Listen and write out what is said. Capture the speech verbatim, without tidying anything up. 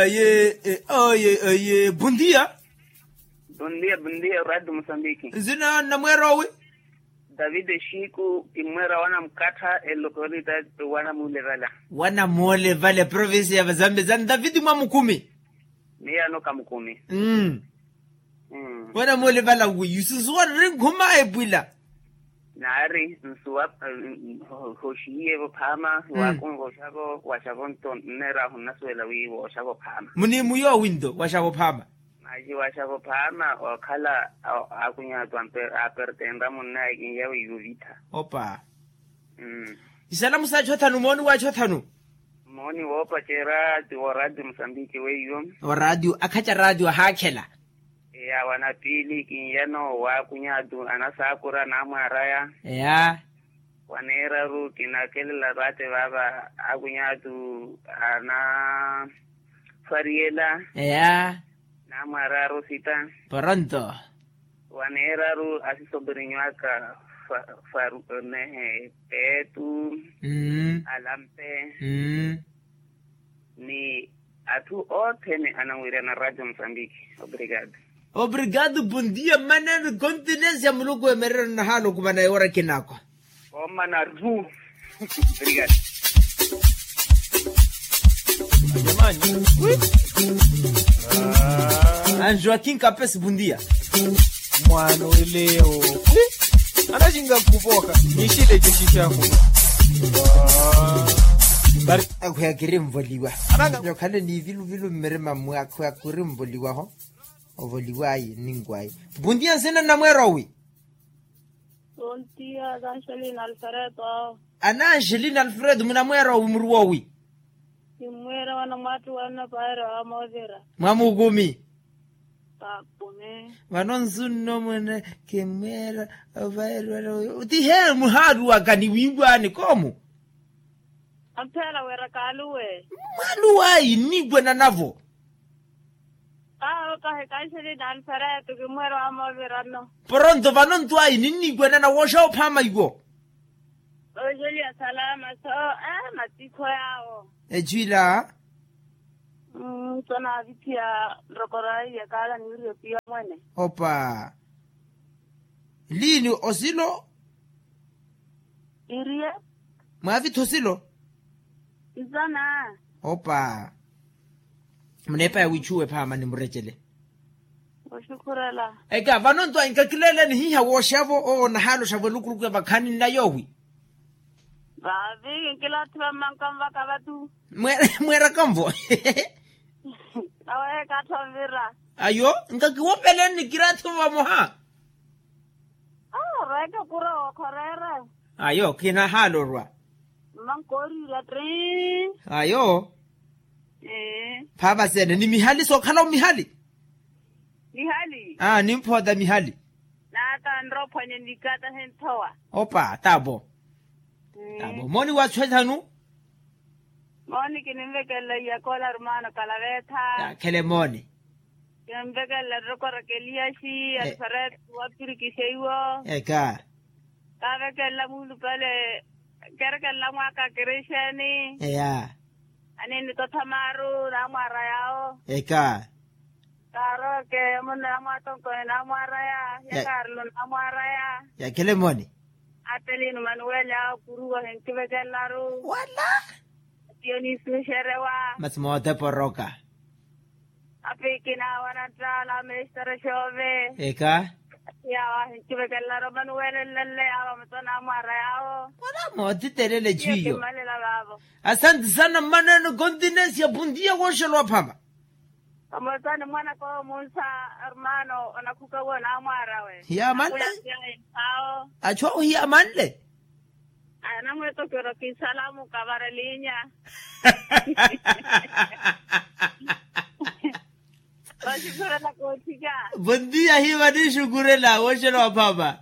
Aye. Aye aye, bondia. Bondia bondia radio mosambiki. Nzina namweera owi? David eshiku kimmweera wana mukattha elokorita. Wana muule vala. Wana muule vala provinsi ya vazambi zani david mwamukumi. Miya noka mukumi. Wana muule vala wi yusinsuwa nri nkhuma epwila. Naari nsuwa. Hoxihiyevo phaama waakunva oxavo waxavo nto nneerahu nnasuwela wi wooxavo phaama. Muniimu yoowi nto waxavo phaama. Maxi waxavo phaama okhala. Akunyatu apertenra munnaye kinyawe yuvitha. Opa. Isalamu saachothanu mooni waachothanu. Mooni woopacerya ti wooradio mosambiki weiyo. Oradio akhaca radio ahaakhela. Eya wanapili kinyano waakunyatu anasaakura naamwaraya. Eya. Waneeraru kinakelela vaate vaava akunyaatu anafwariyela. Eya. Naamwaraya rosita. Poronto. Waneeraru asisopirinyu aka faru nehe petu. Alampe. Ni atthu othene ananwirana radio mosambiki. Obrigado. Obrigado bondia maneno continencia muluku emerero nahalo kumana ewora kinakwa. Omana ru. Obrigado. Anjoaquim capes bondia. Mwaano eleo. Anaxinga nkhupoka nixile cexixahu. Akhweya kirinvoliwa. Nyokhale ni viluvilu mmirima mmwe akhweya kirinvoliwaho. Ovoliwayi ninkwayi. Bondia nsina namweera owi? Bondia kanxelina alfredo. Ana anxelina alfredo munamweera owi muri woowi? Kimmweera wana mwaattu wanna paero amoovira. Mwamukumi. Vano nsunno mwene kimmweera. Opaero ti hee muhaaluwaka ni wiiwaani koomu. Amphela wira kaaluwe. Mwaaluwayi nniiwananavo. Awo kahi kanxelina alfredo kimmweera amoovira nno. Poronto vano nto ayi ninniiwanana wooxa ophaama iwo. Oxeliya salama so. Matikho yaawo. Echwila. Nto naavithiya nrokoro ayi yakaala niwiriye piya mwene. Opa. Liini osilo. Iriye. Mwaavitha osilo. Nsana. Opa. Muneepa ya wiichuwe phaama nimurecele. Oxukhurela. Eka vano nto ayi nkakileeleni hiiha wooxavo owo nahaloxavo elukuluku ya vakhaani nnayowi. Vaavi nkilathi vammanka nvaka vatu. Mweeraka nvo. Aweeka atthu anvira. Ayo nkakiwopeleni nikirathi vamoha. Awo rweeke kura wookhorera. Ayo kinahalorwa. Mmankooriirya tri. Ayo. Phaava sene ni mihali sookhala omihali. Mihali. Aa nimphoota mihali. Naata nrophwanye nikaata henthowa. Opa taavo. Taavo mooni waachu ethanu. Mooni kinimvekelela iyakoola rumaano kalavetha. Yaakhele mooni. Kinimvekelela nrokoro keliyasi alfareti wapirikiseiwo. Eka. Kaavekelela muulupale. Kerekelela mwaaka kerixeni. Eya. Aniinitotha maaru naamwaara yaawo. Eka. Kaaroke munna namwaatonkoni naamwaaraya. Yakaarilo naamwaaraya. Yakhele mooni. Ateliino manuweli awo kuruwa ohinkivekelelaru. Wala. Tiyo niisuxerewa. Masi mooteporoka. Apiikina awo ananttaala mestere xoove. Eka. Yaawo ahinkivekelelaru manuweli nlelle yaawo amatona amwaara yaawo. Wala mootitelele twiyo. Asanti sana mmaneno continencia puntiya wooxolowa phama. Omosani mwanaka omunsa. Armano onakhuka wo naamwaarawe. Hiyamanle. Awo. Achu awo hiyamanle. Anamwetokero kisalamu kavaralinya. Vasukurela koothika. Bondia hiva nixukurela wooxela waphama.